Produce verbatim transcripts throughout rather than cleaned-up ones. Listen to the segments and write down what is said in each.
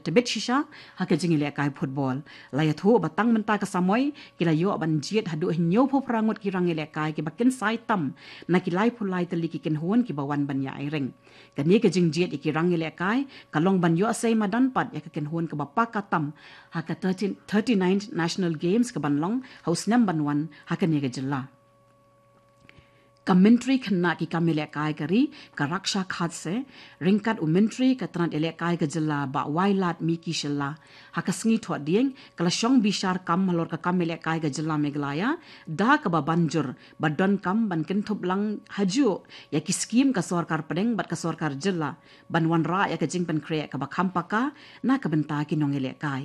tebit shisha ha ka jingïalehkai football. La ïathuh ba tang mynta ka samoi ki la ïoh ban jied haduh hynñiewphew phra ngut ki rangïalehkai kiba kynsai tam na ki laiphew lai tylli ki kynhun kiba wan ban ïa ring. Kane ka jingjied ïa ki rangïalehkai ka long ban ïoh sei madan pat ïa ka kynhun kaba paka tam ha ka thirty-ninth National Games kaban long ha u snem ban wan ha kane ka jylla. Ka Myntri Khynnah ki kam ïalehkai ka ri, ka Raksha Khadse, ryngkat u Myntri ka tnat ïalehkai ka jylla, Bah Wailadmiki Shylla, ha ka sngi Thohdieng ka la shong bishar kam halor ka kam ïalehkai ka jylla Meghalaya, da kaba ban jur ba donkam ban kynthup lang hajuh ïa ki skhim ka sorkar pdeng bad ka sorkar jylla ban wanrah ïa ka jingpynkhreh kaba kham paka na ka bynta ki nongïalehkai.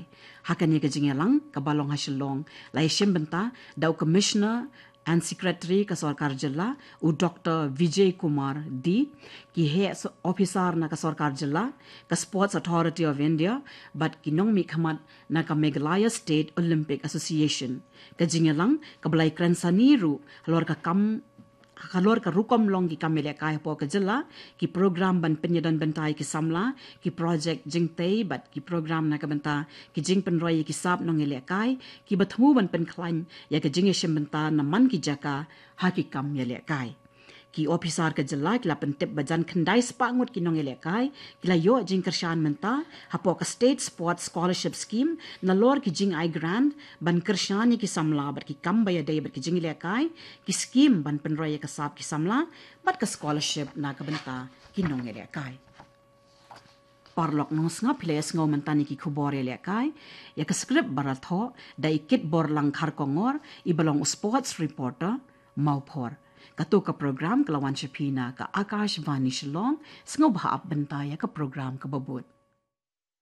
Ha kane ka jingïalang kaba long ha Shillong, la ïashim bynta da u Commissioner and Secretary ka sorkar jylla, u Doctor Vijay Kumar D, ki heh so-, officer na ka sorkar jylla, ka Sports Authority of India, bad ki nongmihkhmat na ka Meghalaya State Olympic Association. Ka jingïalang kaba la ïakren sani ruh halor ka kam, halor ka rukom long ki kam ïalehkai hapoh ka jylla, ki program ban pynïadon bynta ïa ki samla, ki projek jingtei bad ki program na ka bynta ki jingpynroi ïa ki sap nongïalehkai kiba thmu ban pynkhlaiñ ïa ka jingïashim bynta na man ki jaka ha ki kam ïalehkai. Ki ophisar ka jylla ki la pyntip ba jan khyndai spah ngut ki nongïalehkai ki la ïoh jingkyrshan mynta hapoh ka State Sports Scholarship Scheme nalor ki jingai grant ban kyrshan ïa ki samla bad ki kam ba ïadei bad ki jingïalehkai, ki skhim ban pynroi ïa ka sap ki samla bad ka scholarship na ka bynta ki nongïalehkai. Paralok nongsngap, phi la ïa sngew mynta ïa ki khubor ïalehkai, ïa ka script ba la thoh da i Kitborlang Kharkongor, iba long u sports reporter Mawphor. Kato ka program ka la wan sha phi na ka Akashvani Shillong. Sngewbha ap bynta ïa ka program kaba bud.